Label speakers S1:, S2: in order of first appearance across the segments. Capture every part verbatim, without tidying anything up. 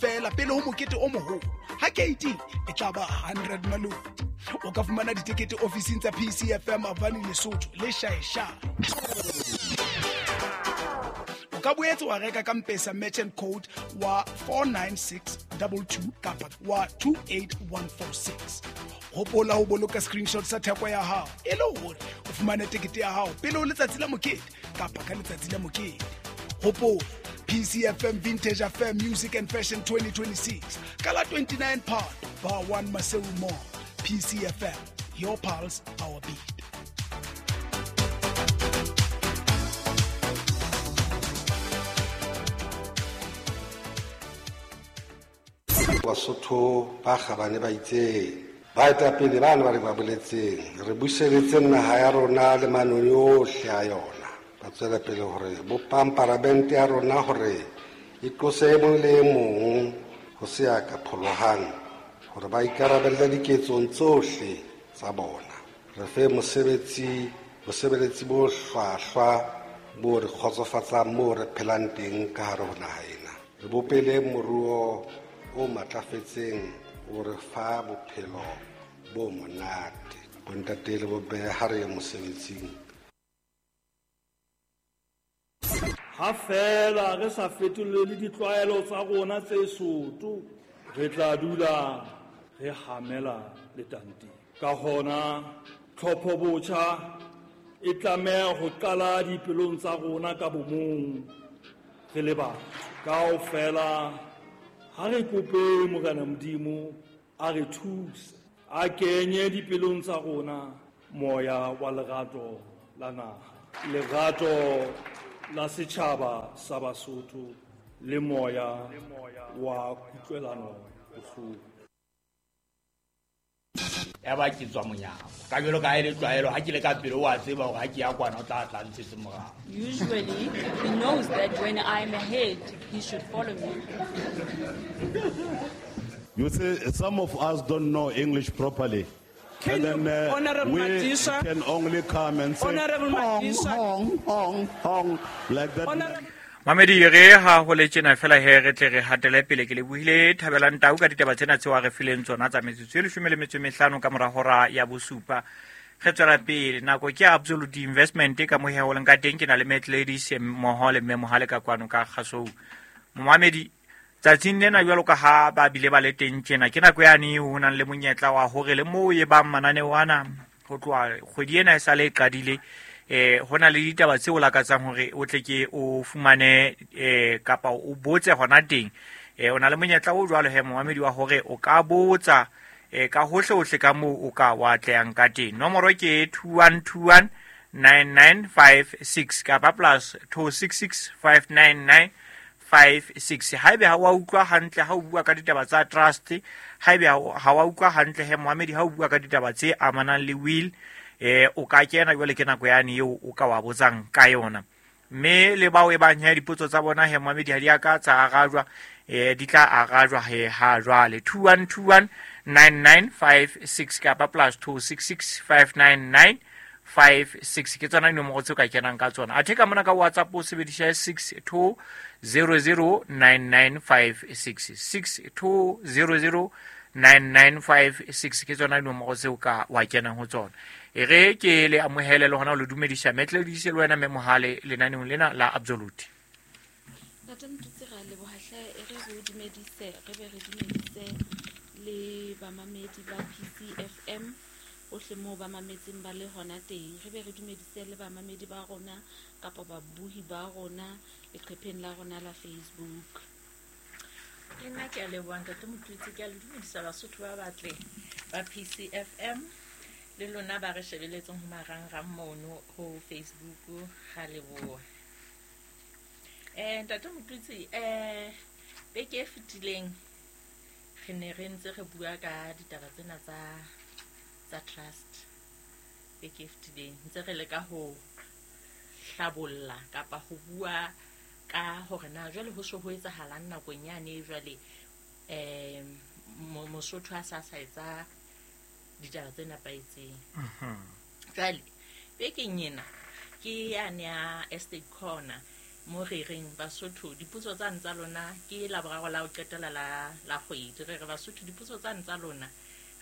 S1: feela pele ho mokete o moholo. Ha keiting e tla ba hundred maloti. O ka fumana ditekete ofising tsa P C F M Avani Lesotho le Shaesha. O ka boetse wa reka ka M-Pesa merchant code wa four nine six two two kapa wa two eight one four six. Hopola ho boloka screenshot sa theko ya hao e le hore o fumane tekete ya hao pele ho letsatsi la mokete kapa ka letsatsi la mokete. Hopola P C F M Vintage Affair Music and Fashion twenty twenty-six ka la twenty-nine Phato Bar one Maseru Mall. P C F M, your pulse, our beat.
S2: Basotho ba kgabane ba itseng baetapele ba ne ba re ba boletseng re buseletse naha ya rona le manoni ohle a yona ba tswela pele hore bopang paramente ya rona hore e tlose e mong le e mong ho se ya ka pholohang hore ba ikarabelle diketsong tsohle tsa bona re fe mosebetsi bosebeletsi bo hlwahlwa bo re kgotsofatsang moo re phelang teng ka hare ho naha ena re bopele moruo o matlafetseng o re fa bophelo bo monate bontate le bomme ha re ye mosebetsing.
S3: Ha fela re sa fetolele ditlwaelo tsa rona tse soto re tla dula re hamela letanteng ka hona tlhopho botjha e tlameha ho qala dipelong tsa rona ka bomong re le batho kaofela. Ha re kope Morena Modimo a re thuse a kenye dipelong tsa rona moya wa lerato la naha lerato la setjhaba sa Basotho le moya wa kutlwelano bohloko.
S4: Ya ba ke tswa monyako ka jwalo ka e le tlwaelo ha ke le ka pele wa tseba hore ha ke ya kwana o tla tla ntshetse morao.
S5: Usually he knows that when I'm ahead he should follow me.
S6: You see, some of us don't know English properly.
S7: Can
S6: and then uh,
S7: Honorable
S6: we
S7: Madisha,
S6: can only come and say
S7: Honorable
S6: hong,
S7: Madisha,
S6: hong, hong, hong, like that.
S7: Honorable
S8: Mamedi re ha ho le tjena fela he re tle re hatele pele ke le buile Thabelang Tau ka ditaba tsena tseo a re fileng tsona tsa metsotso e leshome le metso e mehlano ka mora hora ya bosupa. Re tswela pele nako ke Absolute Investment ka mohe ho leng ka teng ke na le Matt Ladies mmoho le mme Mohale ka kwano ka Kgasou. Momamedi tsatsing lena jwalo ka ha ba bile ba le teng tjena ke nako yane ho nang le monyetla wa hore le moo e bang mananeo ana ho tloha kgwedi ena e sale e qadile eh hona le ditaba tseo lakatsang hore o tle ke o fumane eh kapa o botse hona teng eh ona le monyetla o jwalo he momamedi wa hore o ka botsa eh ka hohle hohle ka moo o ka wa tlehang ka teng. Nomoro ke two one two one nine nine five six kapa plus two six six five nine nine five six. Haebe ha wa utlwa hantle ha o bua ka ditaba tsa trust, haebe ha wa utlwa hantle he momamedi ha o bua ka ditaba tse amanang le will eh o ka kena jwale ke nako yane eo o ka wa botsang ka yona mme le bao e bang he dipotso tsa bona he momamedi ha di a ka tsa arajwa eh di tla arajwa he ha jwale two one two one nine nine five six kapa plus two six six five nine nine five six ke tsona dinomoro tseo ka kenang ka tsona. Athe ka mona ka WhatsApp o sebedisa six two zero zero nine nine five six six two zero zero nine nine five six ke tsona dinomoro tseo ka wa kenang ho tsona. E re ke le amohele le hona ho le dumedisa metle le dise le wena mme Mohale lenaneong lena la Absolute.
S5: Ntate Motutsi ra leboha hle, e re re o dumedise re be re dumedise le bamamedi ba P C F M ohle moo ba mametseng ba le hona teng. Re be re dumedise le bamamedi ba rona kapa babuhi ba rona leqepheng la rona la Facebook.
S9: Le nna ke a leboha Ntate Motutsi, ke a le dumedisa Basotho ba batle ba P C F M le lona ba re shebeletseng ho marangrang mono ho Facebook ga leboha. Eh Ntate Motutsi, eh beke e fetileng re ne re ntse re bua ka ditaba tsena tsa tsa trust. Beke e fetileng ntse re leka ho hlabolla kapa ho bua ka hore na jwale ho so ho etsahalang nakong yane jwale eh Mosotho a sa sa etsa ditaba tse nepahetseng. Jwale bekeng ena ke yane ya Estate Corner Mo re reng Basotho dipotso tsane tsa lona ke Laboraro la ho qetela la la kgwedi. Re re Basotho dipotso tsane tsa lona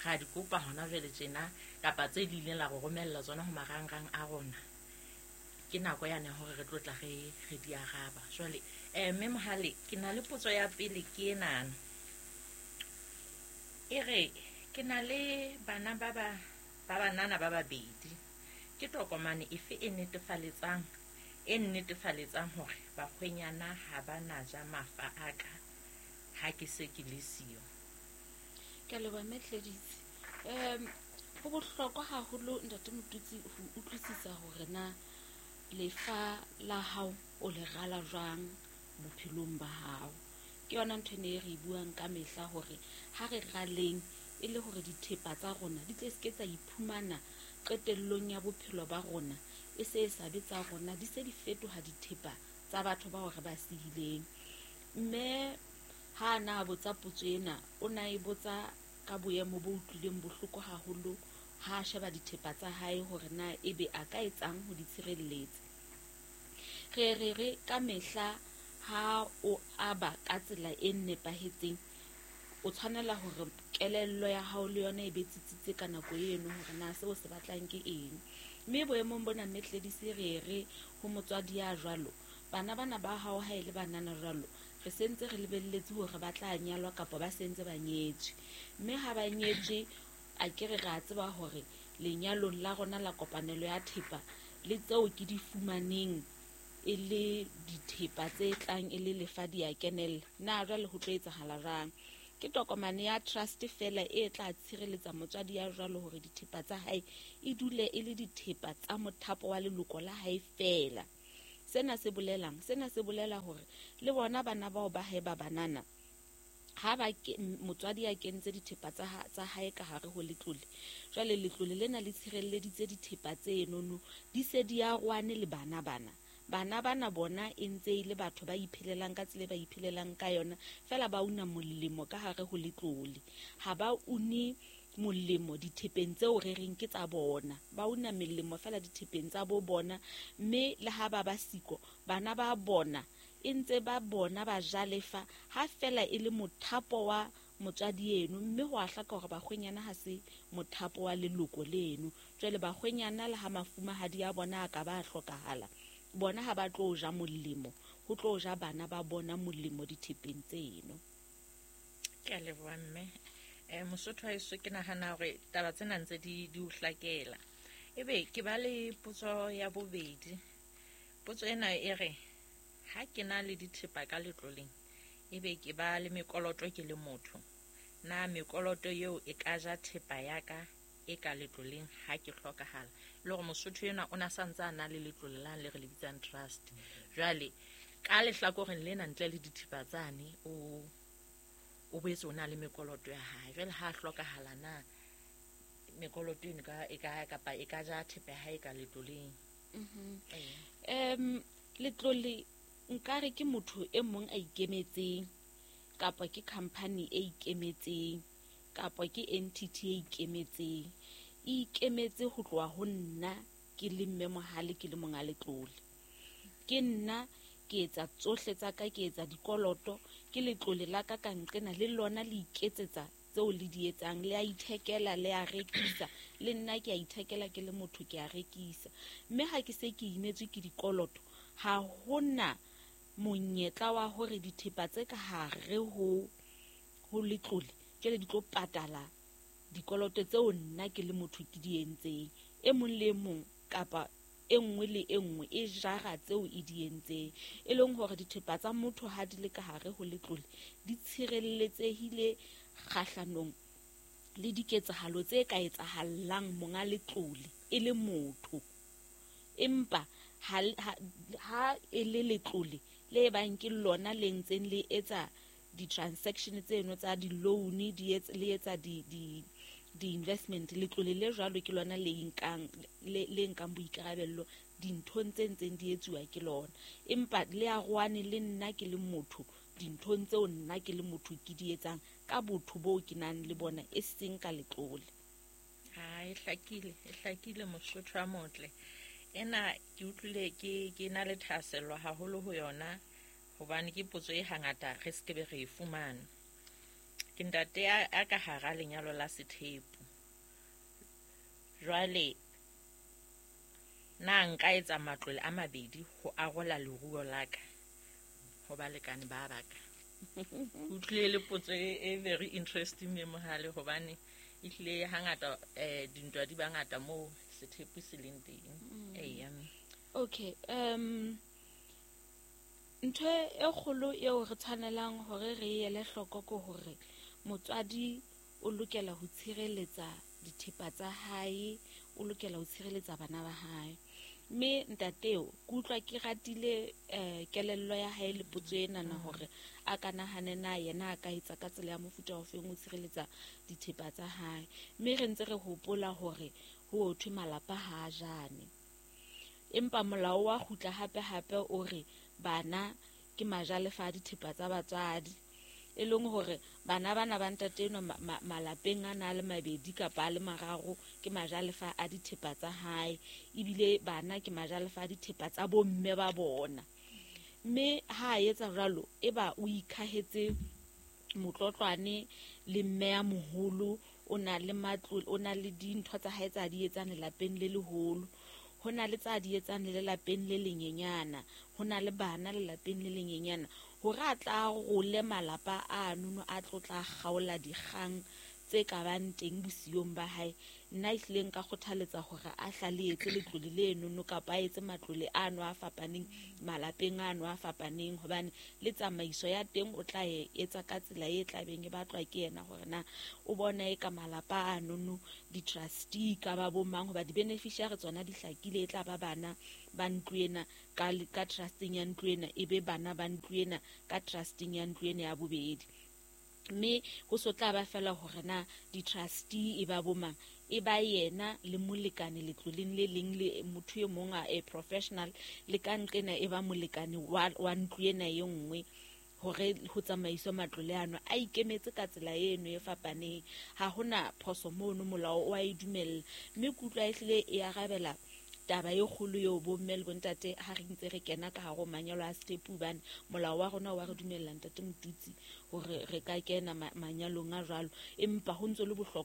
S9: ga di kopa hona jwale tjena kapa tse di ileng la go romella tsona ho marangrang a rona. Ke nako yane hore re tlo tla re re di araba. Jwale eh mme Mohale ke na le potso ya pele ke enana. E re ke na le bana ba ba ba banana ba babedi. Ke tokomane efe e netefaletsang e nnetefaletsang hore bakgwenyana ha ba na ja mafa a ka ha ke se ke le siyo?
S5: Ke a leboha mme Tleditse. Um ho bohlokwa haholo ntate Motutsi ho utlwisisa hore na lefa la hao o le rala jwang bophelong ba hao. Ke yona ntho ene e re buang ka mehla hore ha re raleng e le hore dithepa tsa rona di tle se tsa iphumana qetellong ya bophelo ba rona e se e sa be tsa rona, di se di fetoha dithepa tsa batho bao re ba sihileng. Mme ha na botsa potso ena o na e botsa ka boemo bo utlwileng bohloko haholo ha a sheba dithepa tsa hae hore na ebe a ka etsang ho di tshireletsa. Re re re ka mehla ha o aba ka tsela e nepahetseng o tshwanela hore kelello ya hao le yona e be tsitsitse ka nako eno hore na seo se batlang ke eng. Mme boemong bona mme Tledisi re re ho motswadi ya jwalo, bana bana ba hao ha e le banana jwalo re sentse re lebelletse hore ba tla nyalwa kapa ba sentse ba nyetswe. Mme ha ba nyetswe a ke re ra tseba hore lenyalong la rona la kopanelo ya thepa le tseo ke di fumaneng e le dithepa tse tlang e le lefa di a kenella. Na jwale ho tlo etsahala jwang? Ke tokomane ya trust fela e tla tshireletsa motswadi ya jwalo hore dithepa tsa hae e dule e le dithepa tsa mothapo wa leloko la hae fela. Sena se bolelang? Sena se bolela hore le bona bana bao ba hae ba banana ha ba motswadi ya kentse dithepa tsa tsa hae ka hare ho letlole, jwale letlole lena le tshireleditse dithepa tse enono di se di a rwane le bana bana. Bana bana bona e ntse e le batho ba iphelelang ka tsela e ba iphelelang ka yona fela, ba una molemo ka hare ho letlole. Ha ba une molemo dithepeng tseo re reng ke tsa bona, ba una melemo fela dithepeng tsa bo bona. Mme le ha ba ba siko bana ba bona e ntse ba bona ba jalefa ha fela e le mothapo wa motswadi eno. Mme ho a hlaka hore bakgwenyana ha se mothapo wa leloko leno. Jwale bakgwenyana le ha mafumahadi a bona a ka ba hlokahala, bona ha ba tlo ja molemo, ho tlo ja bana ba bona molemo dithepeng tseno.
S9: Ke a leboha mme. Eh Mosotho wa heso ke nahana hore taba tsena ntse di di o hlakela. Ebe ke ba le potso ya bobedi. Potso ena e re ha ke na le dithepa ka letloleng ebe ke ba le mekoloto ke le motho, na mekoloto eo e ka ja thepa ya ka e ka letloleng ha ke hlokahala? Le hore Mosotho ena o na santse a na le letlole la le re le bitsang trust. Jwale ka lehlakoreng lena ntle le dithepa tsane o o boetse o na le mekoloto ya hae. Jwale ha hlokahala na mekoloto eno ka e ka kapa e ka ja thepa ya hae ka letloleng?
S5: Mhm. Em letlole nkare ke motho e mong a ikemetseng kapa ke company e ikemetseng kapa ke entity e ikemetseng. E ikemetse ho tloha ho nna ke le mme Mohale ke le monga letlole. Ke nna ke etsa tsohle tsa ka, ke etsa dikoloto, ke letlole la ka ka nqena le lona le iketsetsa tseo le di etsang, le a ithekela le a rekisa, le nna ke a ithekela ke le motho ke a rekisa. Mme ha ke se ke imetswe ke dikoloto, ha hona monyetla wa hore dithepa tse ka hare ho ho letlole jwale di tlo patala dikoloto tseo nna ke le motho ke di entseng. E mong le mong kapa e nngwe le e nngwe e jara tseo e di entseng, e leng hore dithepa tsa motho ha di le ka hare ho letlole di tshireletsehile kgahlanong le diketsahalo tse ka etsahallang monga letlole e le motho. Empa ha ha e le letlole le bang ke lona le ntseng le etsa di-transaction tseno tsa di-loan, di le etsa di di di-investment, letlole le jwalo ke lona le nkang le le nkang boikarabello dinthong tse ntseng di etsuwa ke lona. Empa le a rwane le nna ke le motho dinthong tseo nna ke le motho ke di etsang ka botho boo ke nang le bona e seng ka letlole.
S9: Ha e hlakile, e hlakile Mosotho a motle. Ena ke utlwile ke ke na le thahasello haholo ho yona hobane ke potso e hangata re se ke be re e fumana. Ke ntate a a ka hara lenyalo la sethepu. Jwale na nka etsa matlole a mabedi ho arola leruo la ka ho balekane ba ba ka? Utlwile le potso e, e very interesting me mohale hobane ehlile hangata eh dintwa di bangata moo sethepu se leng teng. Eya.
S5: Okay, um ntho e kgolo eo re tshwanelang hore re e ele hloko ke hore motswadi o lokela ho tshireletsa dithepa tsa hae, o lokela ho tshireletsa bana ba hae. Mme ntateo ke utlwa ke ratile eh, kelello ya hae le potso enana hore a ka nahane na yena a ka etsa ka tsela ya mofuta ofeng ho tshireletsa dithepa tsa hae. Mme re ntse re hopola hore ho thwe malapa ha a jane. Empa molao wa kgutla hape hape o re bana ke majalefa a dithepa tsa batswadi. E leng hore bana bana ba ntate enwa ma-, ma-, malapeng a na le mabedi kapa a le mararo ke majalefa a dithepa tsa hae, ebile bana ke majalefa a dithepa tsa bomme ba bona. Mme ha a etsa jwalo e ba o ikhahetse motlotlwane le mme ya moholo, o na le matlo, o na le dintho tsa hae tsa di etsang lelapeng le leholo, ho na le tsa di etsang le lelapeng le lenyenyana, ho na le bana lelapeng le lenyenyana, hore a tla role malapa a nono a tlo tla kgaola dikgang tse ka bang teng bosiong ba hae. Nna ehlile nka kgothaletsa hore a hlale etse letlole le nono kapa a etse matlole ano a fapaneng malapeng ano a fapaneng, hobane le tsamaiso ya teng o tla e etsa ka tsela e tlabeng e batlwa ke yena hore na o bona e ka malapa a nono di-trustee ka ba bo mang, hoba di-beneficiary tsona di hlakile, e tla ba bana ba ntlo ena ka, ka trusteng ya ntlo ena, e be bana ba ntlo ena ka trusteng ya ntlo ena ya bobedi. Mme ho so tla ba fela hore na di-trustee e ba bo mang, e ba yena le molekane letloleng le leng le motho e mong a, a professional le ka nqena e ba molekane wa, wa ntlo ena e nngwe, hore ho tsamaiswe matlole ano a ikemetse ka tsela eno e fapaneng. Ha hona phoso mono, molao o a e dumella. Mme ke utlwa ehlile e arabela taba e kgolo eo bomme le bontate ha re ntse re kena ka hare ho manyalo a sethepu, hobane molao wa rona wa re dumella ntate Motutsi hore re ka kena ma-, manyalong a jwalo, empa ho ntso le bohlokwa